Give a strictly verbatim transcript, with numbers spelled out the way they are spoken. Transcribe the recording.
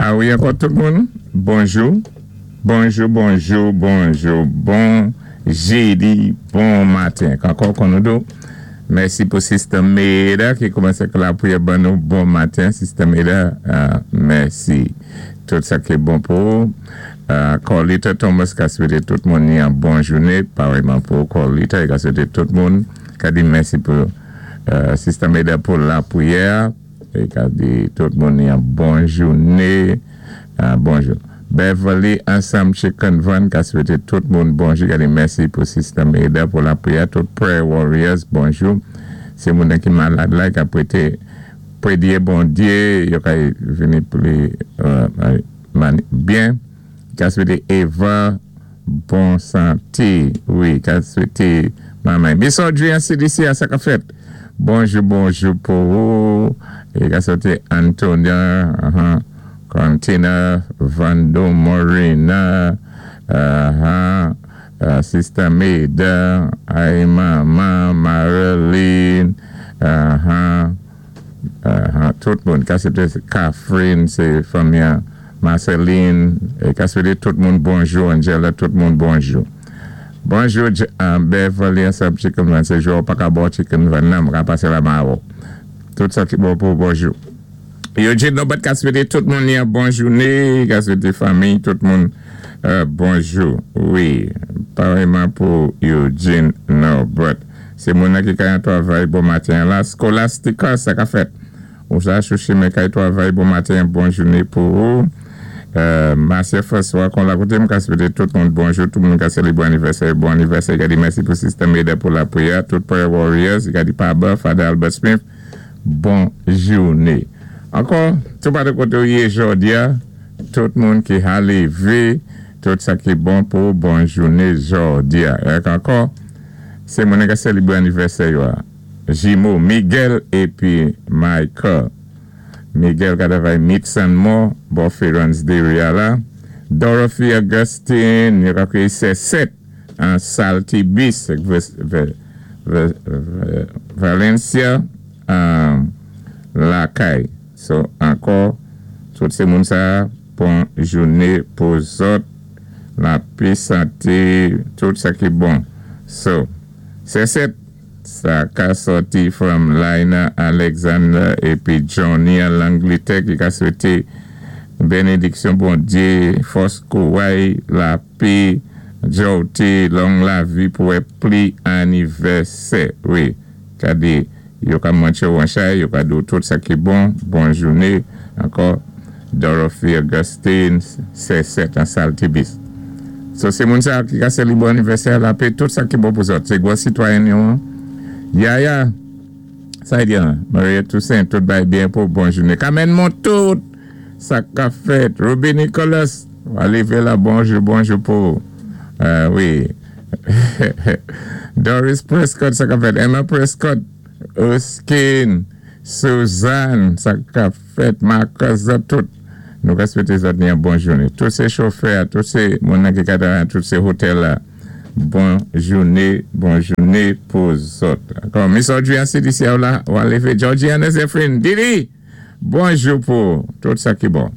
A wi, ankò tout moun, bonjou, bonjou, bonjou, bonjou, bon jédi, bon maten. Ankò kon nou do, mèsi pou Sister Meda ki koumansé lapriyè ban nou bon maten. Sister Meda, euh, mèsi. Tout sa ki bon pou. Euh, Corlita Thomas ka swété tout moun ni an bon jouné, parèyman pou Corlita, i ka swété tout moun, ka di mèsi pou euh, Sister Meda pou lapriyè, é ka di tout moun ni an bon jouné, euh, bonjou. Beverly ansanm Chicken Van ka swété tout moun bonjou, ka di mèsi pou Sister Meda pou lapriyè, tout Prayer Warriors, bonjou. Sé moun ki malad la, ka pwété prédyé Bondyé, yo ka vini pou li euh, mani- byen. Ka swété Eva bon santé, wi, ka swété manman. Miss Audrey an C D C a sa ka fèt. Bonjou, bonjou pou ou. É ka swété Antonia, uh-huh, Contina, Vando Morena, uh-huh, uh, Sister Maida, ay Mama, Marilyn, uh-huh, uh-huh, tout moun. Ka swété Catherine, sé fanmi Marceline, é ka swété tout moun bonjou, Angela, tout moun bonjou. Bonjou, J- uh, Beverly, ansanm Chicken Van, sé jou pa ka bo Chicken Van nan, ka pasé la mawo. Tout sa ki bon pou bonjou. Eugene Norbert ka swété tout moun ni an bon jouné, ka swété fanmi, tout moun euh, bonjou. Wi, parèyman pou Eugene Norbert. Sé moun nan ki kay an twavay bon maten la. Scholastica, sa ka fèt. Ou sa chouchi men kay twavay bon maten, bon jouné pou ou. Euh, Marcia François, kon la koté m ka swété tout moun bonjou, tout moun ka sélébwé anivèsè, bon anivèsè, ka di mèsi pou Sister Meda pou lapriyè, tout Prayer Warriors, ka di Paba, Father Albert Smith, bon jouné. Ankò, tout pa de koté ou yé jòdi a, tout moun ki ha lévé, tout sa ki bon pou bon jouné jòdi a. Èk ankò, sé moun ka sélébwé anivèsè yo a. Jimo, Miguel épi Michael. Miguel ka travay Meats and More, bò Ferrans Dairy a la. Dorothy Augustine, yo ka kwé sé sèt an Saltibus, Valencia, an Lakay. So, ankò, tout sé moun sa, bon jouné pou zòt, lapé santé, tout sa ki bon. So, sé sèt, sa ka sòti from Lina Alexander épi Johnny an Langletè ki ka swété bénédiksyon Bondyé, fòs kouway, lapé, jòté, long lavi pou wè pli anivèsè. Wi, ka di, yo ka mantché ou an chay, yo ka di tout sa ki bon, bon jouné, ankò, Dorothy Augustine, sé sèt an Saltibus. So, sé moun sa ki ka sélébwé anivèsè, lapé, tout sa ki bon pou zòt. Sé gwo sitwayen yo an. Yaya, sa y di an, Maria Toussaint, tout bay byen pou bon jouné. Kamen moun tout, sa ka fèt. Ruby Nicholas, wale la bonjou, bonjou pou. Euh, wi. Doris Prescott, sa ka fèt. Emma Prescott, Erskine, Suzanne, sa ka fèt. Marcus, tout. Nou ka swété zòt ni an bon jouné. Tout sé chofè, tout sé moun nan ki kata, tout sé hotel la. Bon jouné, bon jouné pou zòt. Ankò, Miss Audrey an C D C ou la, ou an lévé Georgiana Zephyrin, Didi, bonjou pou tout sa ki bon.